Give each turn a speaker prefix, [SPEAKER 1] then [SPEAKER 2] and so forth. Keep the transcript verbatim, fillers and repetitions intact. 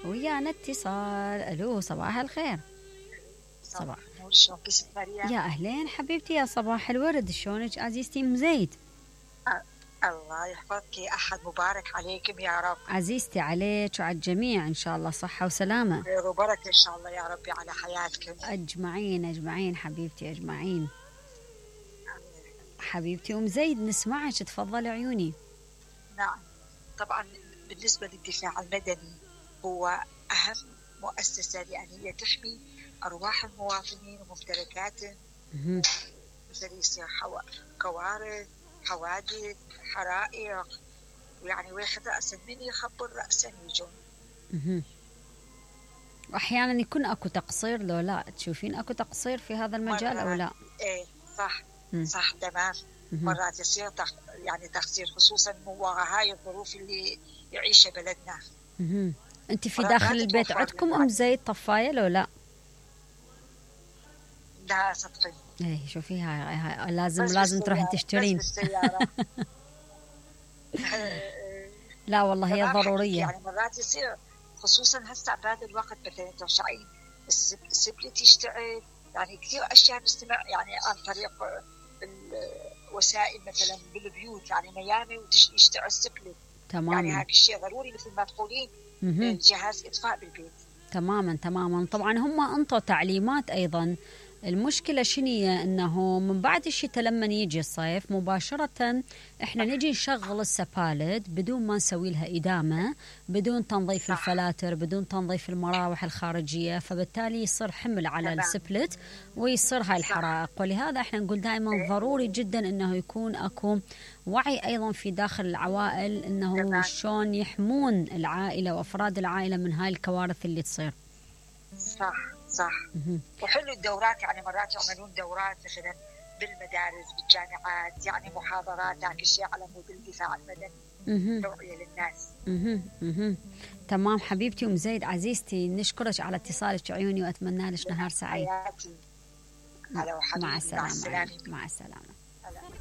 [SPEAKER 1] ويانا اتصال. الو صباح الخير.
[SPEAKER 2] صباح النور، شلونك ست مريم؟
[SPEAKER 1] يا اهلين حبيبتي، يا صباح الورد، شلونك عزيزتي ام زيد؟
[SPEAKER 2] أه الله يحفظك، احد مبارك عليكم يا رب.
[SPEAKER 1] عزيزتي عليك وعلى الجميع ان شاء الله، صحه وسلامه.
[SPEAKER 2] خير وبركه ان شاء الله يا ربي على حياتكم
[SPEAKER 1] اجمعين اجمعين حبيبتي اجمعين. حبيبتي ام زيد نسمعك، تفضلي عيوني.
[SPEAKER 2] نعم طبعا، بالنسبه للدفاع المدني هو اهم مؤسسه، لان هي تحمي ارواح المواطنين وممتلكاتهم، مثل يصير حو... كوارث، حوادث، حرائق، ويعني واحد رأسا من يخبر رأسا يجون.
[SPEAKER 1] واحيانا يكون اكو تقصير، لو لا تشوفين اكو تقصير في هذا المجال او لا؟
[SPEAKER 2] ايه صح. مم. صح تمام. مم. مرات يصير تخ... يعني تقصير، خصوصا وراء هاي الظروف اللي يعيشها بلدنا.
[SPEAKER 1] مم. انت في داخل البيت عندكم ام زيد طفايه لو لا؟
[SPEAKER 2] لا سطحي.
[SPEAKER 1] ايه شوفي هاي, هاي لازم لازم تروحين تشترين. لا والله هي ضروريه.
[SPEAKER 2] يعني مرات يصير، خصوصا هسه بهذا الوقت مثلا ترجعين السبلت يشتعل، يعني كثير اشياء نستمع يعني عن طريق الوسائل مثلا بالبيوت، يعني ميامي ويشتعل السبلت.
[SPEAKER 1] تماما.
[SPEAKER 2] يعني هذا الشيء ضروري مثل ما تقولين جهاز اطفاء بالبيت.
[SPEAKER 1] تماما تماما. طبعا هم انطوا تعليمات ايضا. المشكلة شنية انه من بعد الشتاء لما يجي الصيف مباشرة احنا نجي نشغل السبالت بدون ما نسوي لها إدامة، بدون تنظيف الفلاتر، بدون تنظيف المراوح الخارجية، فبالتالي يصير حمل على السبلت ويصير هاي الحرائق. ولهذا احنا نقول دائما ضروري جدا انه يكون اكو وعي ايضا في داخل العوائل انه شلون يحمون العائلة وافراد العائلة من هاي الكوارث اللي تصير.
[SPEAKER 2] صح صح. وحلو الدورات، يعني مرات يعملون دورات مثلا بالمدارس بالجامعات، يعني محاضرات هاك الشيء على مود الدفاع المدني، توعية للناس.
[SPEAKER 1] مه. مه. تمام حبيبتي ام زيد عزيزتي، نشكرك على اتصالك عيوني واتمنى لك نهار سعيد.
[SPEAKER 2] حياتي.
[SPEAKER 1] مع السلامة. مع السلامة.